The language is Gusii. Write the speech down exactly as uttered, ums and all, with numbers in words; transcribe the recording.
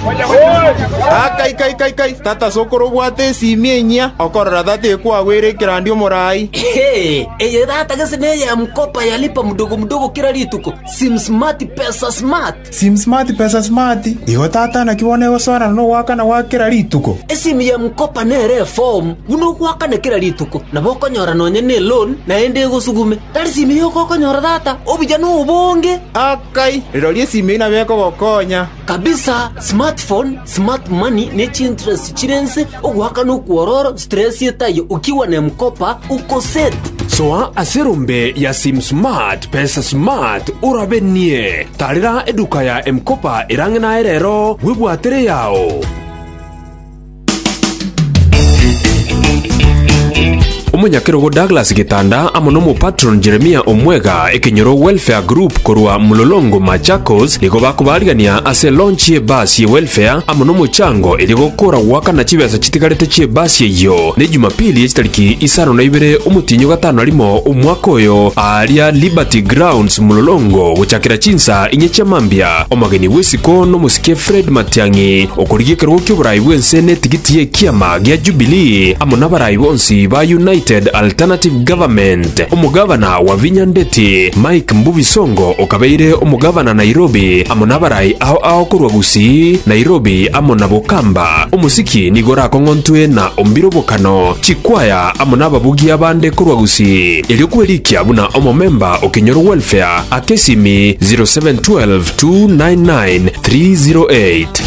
Akai kai kai kai, tata sokoro obwate esimi enyia, okorora tata ekwagwera ekerandi omorai. Hey, eye tata gese neye ya mkopa ya lipa mdogo mdogo kila rituko. Sim Smart Pesa Smart. Sim Smart Pesa Smart, igo tata naki bono egosoana nogwakana gwa kera rituko. Esimu ya mkopa nere eform buna ogwakana kera rituko nabo okonyora nonye ne loan naende egosugume tari simu yoko okonyora tata obuya na obonge. Akai, rirorio esimi eyio nabo ekogokonya. Kabisa, smartphone, smart money ne chinterest chirense ogwakana okwororo stress etayo ukiwa na mkopa uko set. Soa ase erombe ya Sim Smart Pesa Smart orabenie tarera eduka ya Mkopa erang'e naye rero bwebwatere yao. Omonyakerogo Douglas Gitanda amo n'omopatron Jeremia Omwega ekenyoro Welfare Group korwa Mulolongo Machakos nigo bakobarigania ase launch y'ebasi ye welfare amo n'omochango eri gokora gwakana chibesa chitigarete chi'ebasi eyo ne Jumapili echitariki isano na ibere omotinyo gatano rimo omwaka oyo aria Liberty Grounds Mulolongo gochakera chinsa inye chiamambia. Omogeni bw'esiko n'omosike Fred Matiang'i okorigia ekerogo ki'oborai bwense n'etigiti y'ekiama gia Jubilee amo n'abarai bonsi ba United Alternative Government. Omogavana wa Vinya Ndeti Mike Mbuvi Songo okabeire omogavana Nairobi amo n'abarai ao ao korwa Gusii, Nairobi amo na Bokamba. Omosiki nigo orakong'ontwe na Ombiro Bokano chikwaya amo n'ababugia bande korwa Gusii. Erio kwerikia buna omomemba okenyoro welfare akesimi zero seven one two two nine nine three zero eight.